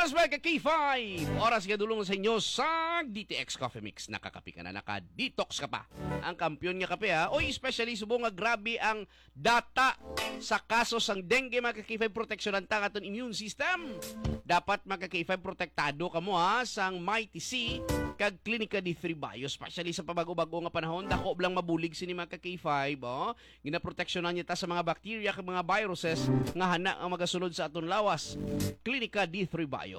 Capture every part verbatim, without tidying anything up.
Oras, mga ka-K five. Oras nga dulong sa inyo sa D T X Coffee Mix. Nakakape ka na, naka-detox ka pa. Ang kampiyon nga kape, ha. Oy, especially subong nga grabe ang data sa kaso sang dengue, mga ka-K five, proteksyonan ta ang aton immune system. Dapat, mga ka-K five, protektado kamo, ha, sang Mighty C kag Clinica D three Bio, especially sa pabago-bago nga panahon. Dako lang mabulig sini, mga ka-K five, oh. Ginaproteksyonan niya ta sa mga bacteria kag mga viruses nga hana nga magasulod sa aton lawas. Clinica D three Bio.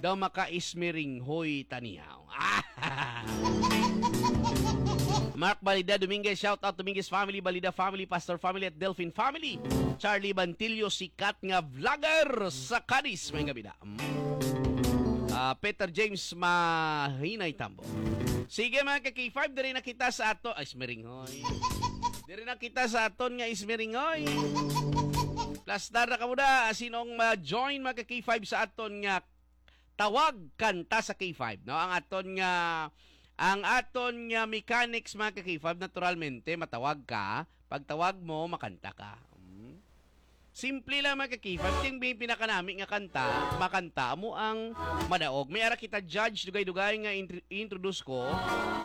Daw maka-ismiringhoy tanihaw. Mark Balida Dominguez, shout out Dominguez family, Balida family, Pastor family at Delfin family. Charlie Bantillo, sikat nga vlogger sa Cadiz. May gabi na. Mm. Ah, Peter James Mahinay Tambo. Sige, mga ka-K five, diri na kita sa ato. Ay, ismiringhoy. Diri na kita sa aton nga ismiringhoy. Plastar na kamo na. Sinong ma-join, mga ka-K five, sa aton nga tawag kanta sa K five, no? Ang aton nga, ang aton nga mechanics, mga ka-K five, naturalmente, matawag ka. Pagtawag mo, makanta ka. Mm. Simple lang, mga ka-K five. Ting bi-, pinakanami nga kanta, makanta mo ang madaog. May ara kita judge, dugay-dugay nga intro-, introduce ko.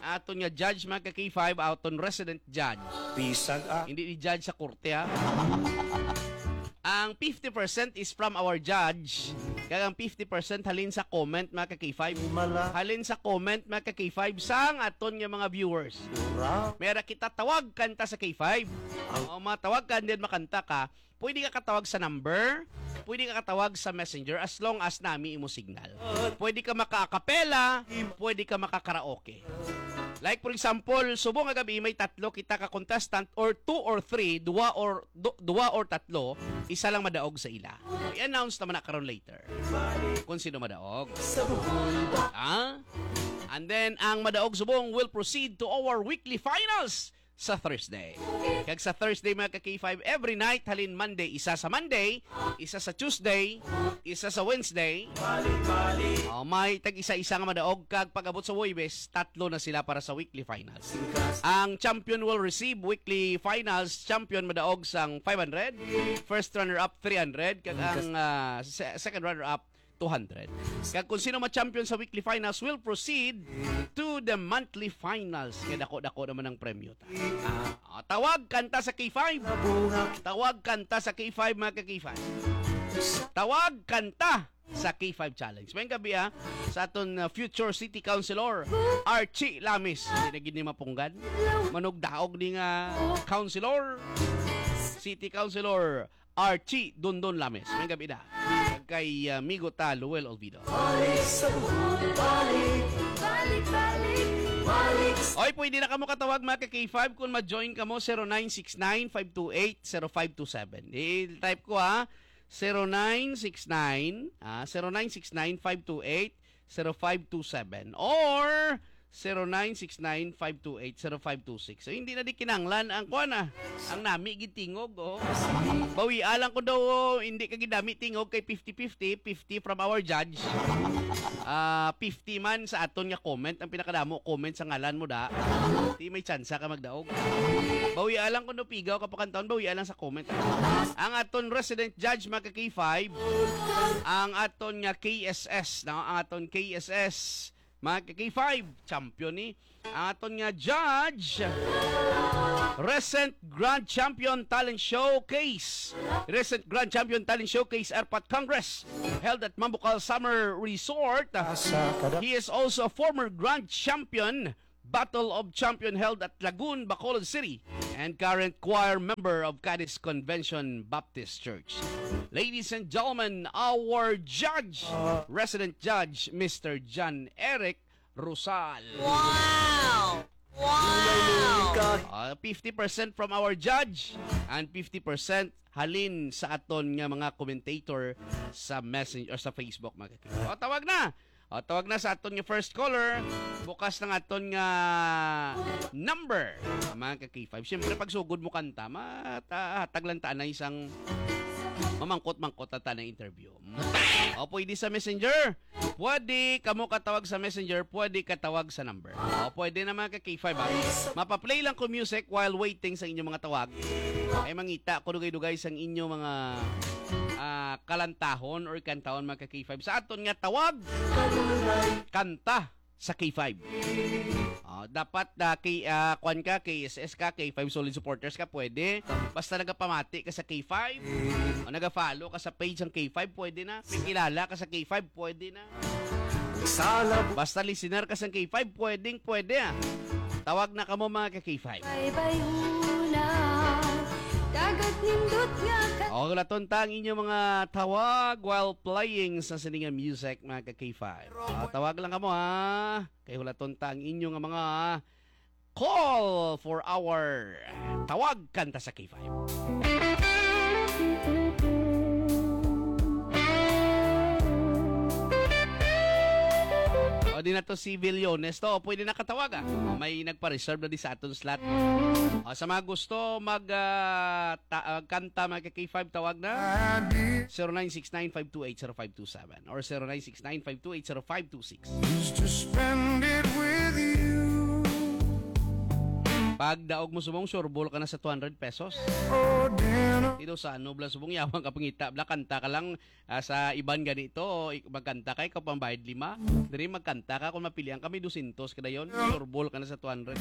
Aton nga judge, mga ka-K five, aton resident judge. Pisag, ah. Hindi ni judge sa korte, ha? Ang fifty percent is from our judge, kag ang fifty percent halin sa comment, mga ka-K five. Mala. Halin sa comment, mga ka-K five, sang aton nga mga viewers. Ura. May ara kita tawag kanta sa K five. Ang O, mga tawag ka, and then makanta ka. Pwede ka katawag sa number, pwede ka katawag sa messenger as long as nami imo signal. Pwede ka maka-acapella, pwede ka maka-karaoke. Like, for example, subong nga gabi may tatlo kita ka contestant or two or three, duwa or du-, duwa or tatlo, isa lang madaog sa ila. I-announce naman na karon later kung sino madaog. Ah? And then, ang madaog subong will proceed to our weekly finals sa Thursday. Kag sa Thursday, mga ka-K five, every night, halin Monday, isa sa Monday, isa sa Tuesday, isa sa Wednesday. Oh, may tag-isa-isa nga madaog, kag pag-abot sa Huwebes, tatlo na sila para sa weekly finals. Ang champion will receive weekly finals champion madaog sang five hundred, first runner-up three hundred, kag ang, ah, se-, second runner-up two hundred. Kag kung sino ma-champion sa weekly finals will proceed to the monthly finals. Kay dako-dako naman ang premyo ta. Ah, tawag kanta sa K five. Tawag kanta sa K five, mga ka-K five. Tawag kanta sa K five Challenge. May gabi, ha, sa aton, uh, future city councilor, Archie Lamis. Hindi na gid ni mapunggan. Manugdaog ni nga councilor, city councilor, Archie Dondon Lames. May gabi na. Kag kay, ah, amigo ta, Luel Olvido. Balik sa buhay, balik, balik, balik, balik. Oy, pwede na kamo katawag, mga ka-K five, kung ma-join kamo, zero nine six nine, five two eight, zero five two seven. I-type ko, ha. Zero nine six nine, ah, zero nine six nine, five two eight, zero five two seven or zero nine six nine, five two eight, zero five two six. So, hindi na di kinanglan ang kuwan, ah. Ang nami gid tingog, oh. Bawia lang ko daw, oh, hindi ka gid nami tingog kay fifty fifty, fifty from our judge. Ah, fifty man sa aton nga comment, ang pinakadamo comment sa ngalan mo da. Di may tsansa ka magdaog. Bawia lang ko daw pigaw ka pakantahon, bawia lang sa comment. Ang aton resident judge, mga ka-K five, ang aton nga K S S, no? Ang aton K S S, mga ka-K five, champion ni. Ang aton nga judge, recent Grand Champion Talent Showcase. Recent Grand Champion Talent Showcase, Airport Congress, held at Mambucal Summer Resort. Asa ka da- He is also a former Grand Champion Battle of Champion held at Lagun, Bacolod City, and current choir member of Cadiz Convention Baptist Church. Ladies and gentlemen, our judge, resident judge, Mister John Eric Rosal. Wow! Wow! Uh, fifty percent from our judge and fifty percent halin sa aton nga mga commentator sa Messenger or sa Facebook, mga kakita. O, tawag na! O, tawag na sa aton nga first caller. Bukas ng aton nga number, mga ka-K five. Siyempre, pag sugod mo kanta, mata-, hatag lang ta na isang mamangkot-mangkot na ta na interview. Mm. O, pwede sa Messenger. Pwede kamo katawag sa Messenger, pwede katawag sa number. O, pwede na, mga ka-K five, ha? Mapaplay lang ko music while waiting sa inyong mga tawag. Ay mangita ko dugay-dugay sang inyo mga ah, kalantahon or kantahon, mga ka-K five. Sa aton nga tawag, kanta sa K five. Ah, dapat na kay ah, kwan ka, K S S ka, K five solid supporters ka, pwede. Basta nagapamati ka sa K five o nagafollow ka sa page ng K five, pwede na. May kilala ka sa K five, pwede na. Basta listener ka sa K five, pwedeng pwede ah. Tawag na kamo, mga ka-K five. Bye-bye huna. Dagat nindot nga ka- O, hulaton ta ang inyo mga tawag while playing sa sininga music, mga ka-K five. Ah, tawag lang kamo, ha. Kay hulaton ta ang inyo nga mga call for our tawag kanta sa K five. O, di na to si Villones to. Pwede na katawag, ah. O, may nagpa-reserve na di sa aton slot. O, sa mga gusto mag ah, ta- ah, kanta, mga ka-K five, tawag na zero nine six nine five two eight zero five two seven or zero nine six nine five two eight zero five two six. Just to spend it with you. Pag daog mo subong, sureball ka na sa two hundred pesos. Oh, dinner. Ito sa ano, bla, subong yawang ka pangita, bla, kanta ka lang, ah, sa iban ganito, o ik- magkanta ka, ikaw pambayad lima. Diri magkanta ka, kung mapilian ka, may dosyentos ka dayon, sureball ka na sa two hundred.